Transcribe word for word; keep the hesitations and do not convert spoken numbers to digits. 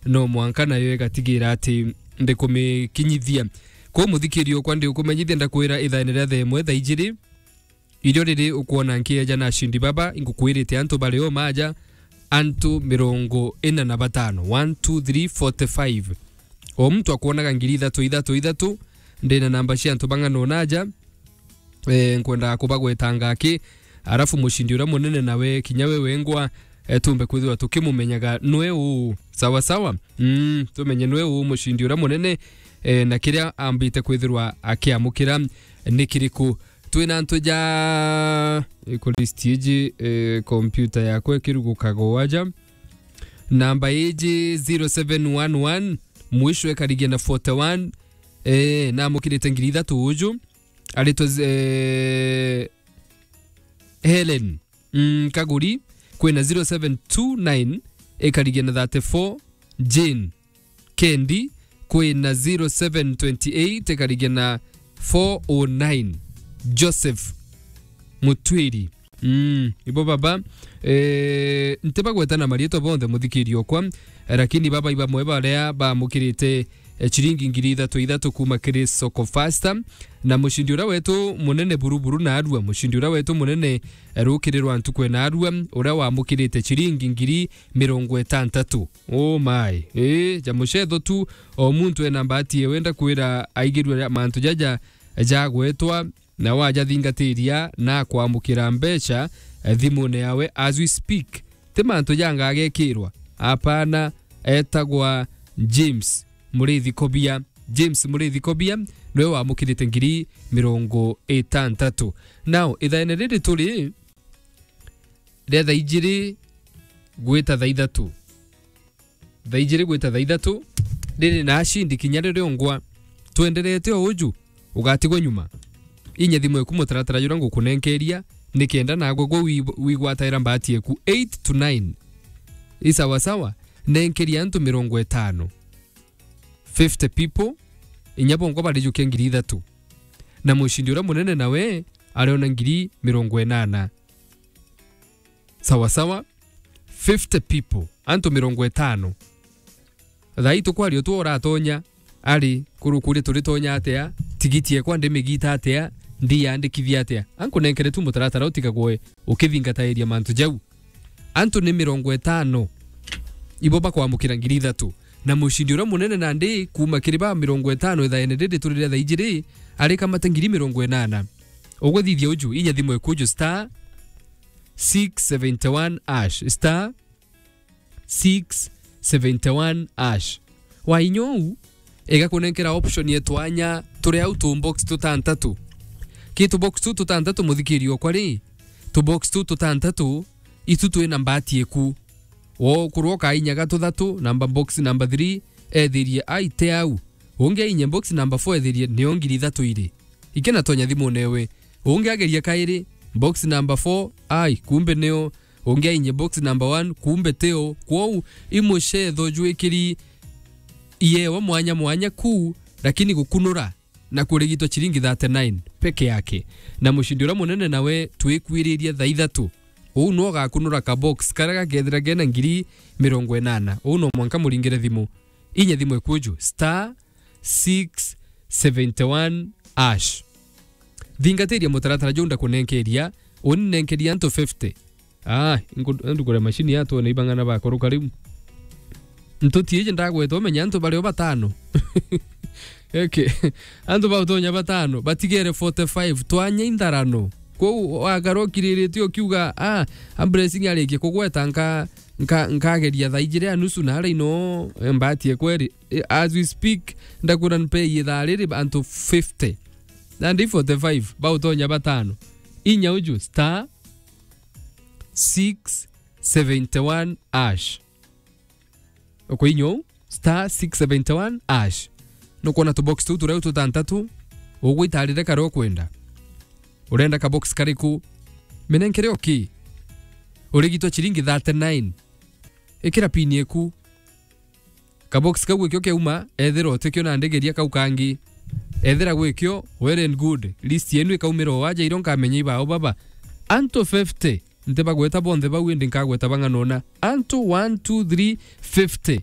no mwanka nayo igatigira ati ndikumikinyithia. Kwou muthikiri okwa, ndikumenyithia ndakwira ithaene ria thaa imwe thaa ijiri, irio riri ukwona nkieja na ashindi baba, ingukwirite antu bari o maja, antu mirongo ina na batano, one, two, three, forty-five. O muntu akwonaga ngiri ithatu, ithatu, ithatu, ndina namba cia antu bang'ana unaja, eh, nkwendaga kubagwetanga aki, arafu mucindi uria munene nawe, kinya we wengwa, eh, tumbe kwithirwa tukimumenyaga nwe uu. Sawa sawa? Mm, tumenye nwe uu mucindi uria munene, eh, na kiria ambite kwithirwa akiamukira ni kiriku. Twina antu ja, iko list iji, eh, computer yakwa ikirugukaga aja. Namba iji zero seven one one, mwisho ikarigia na forty-one, eh, namukirite ngiri ithatu uju. Aritwa, eh, Helen, mm, Kaguri, kwina zero seven two nine, ikarigia na thirty-four, Jane Kendi, kwina zero seven twenty-eight, ikarigia na four oh nine, Joseph Mutwiri. Mm, ibo baba, eh, ntibagweta na marietwa bonthe, muthikiri okwa, lakini baba ibamwe baria bamukirite, eh, chiringi ngiri ithatu ithatu kuma kiri Soko Fasta, na mucindi uria wetu munene buruburu na arua, mucindi uria wetu munene, eh, rukiri rwa ntuku na arua, uria wamukirite chiringi ngiri mirongo itantatu. Oh my. Eh, ja mucetho tu, o muntu ena mbati ewe, ndakwira aigirwe mantu jaja jagwetwa, na wajathingatiria na kwamukira mbeca, eh, thimune yawe as we speak. Ti mantu jangagekirwa. Apana, etagwa James Muriithi Kobia. James Muriithi Kobia niwe wamukirite ngiri mirongo itantatu. Now, ithaene riri turi ria thaa ijiri gwita thaa ithatu. Thaa ijiri gwita thaa ithatu, riri na ashindi kinya riria ungwa. Twenderete o uju, ugatigwa nyuma. Inya thimu eku mutaratara juria ngukunenkeria, nikenda nagwe gwe wi-, wigwataira mbati eku eight to nine. I sawa sawa, nenkeria antu mirongo itano. Fifty people, inya bongwa barijukia ngiri ithatu. Na mucindi uria munene nawe ariona ngiri mirongo inana. Sawa sawa, fifty people, antu mirongo itano. Thaa ii tukwaria tu uratonya, ari kurukuria turitonya atia, tigiti ekwa ndimigita atia, ndiyandikithia atia? Ankunenkere tu mutaratara utigagwe ukithingatairia mantu jau. Antu ni mirongo itano ibo bakwamukira ngiri ithatu. Na mucindi uria munene nandi kuma kiri ba mirongo itano ithaene riri turi ria thaa ijiri, arikamata ngiri mirongo inana. Ugwithithia uju, inya thimu ekuju star six seventy one hash, star six seventy one hash. Wainya uu, igakunenkera option ya twanya turi au tu box tutantatu. Ki tu box tu tutantatu, muthikiri okwa ri, tu box tu tutantatu, itu twina mbati eku. Wo kurwo kainyaga tuthatu, namba box number three, ethirie ai te au. Ungi ainye box number four ethirie nio ngiri ithatu iri. Ikena tonya thimune ewe. Ungi ageria kairi, box number four, ai, kumbe nio. Ungi ainye box number one, kumbe tio. Kwou, i mucetho jwikiri iewa mwanya mwanya kuu, lakini gukunura na kurigitwa chiringi thirty nine peke yake. Na mucindi uria munene nawe twikwiririe thaa ithatu. Uu no gakunura ka box karia gakethira kena ngiri mirongo inana. Uu no mwanka muringire thimu. Inya thimu ekuju, star six seventy one hash. Thingatiria mutaratara juu ndakunenkeria, uni nenkeria antu fifty. Ah, ngu-, ndugure mashini yatwone ibang'ana bakuruka riu. Ntuti iji ndagweta umenya antu bario batano. Okay. Antu bautonya batano, batigere forty five, twanya intharano. Kwou wagarukiriritie ukiuga, ah, a blessing arikie kugweta nka-, nka-, nkageria thaa ijiri ya nusu na aria ino, eh, mbati ekweri. Eh, as we speak, ndakwira npei ithaa riri antu fifty. Nandi forty five, bautonya batano. Inya uju, star six seventy one hash. Ukwinya uu, star six seventy one hash. Nukwona tubox tuu turia tutantatu, ugwitarire karia ukwenda. Urenda kabox kariku? Minenkere o ki? Urigitwa chiringi thirty nine. Ikira pin eku. Kabox kau gwikio keuma, ethira utikio na ndigeria kau kangi. Ethira gwikio, well and good. List yenu ikaumira o aja irio nkamenya ibao baba. Antu fifty, ntibagweta bonthe bau, indi nkagweta bang'ana una. Antu one, two, three, fifty.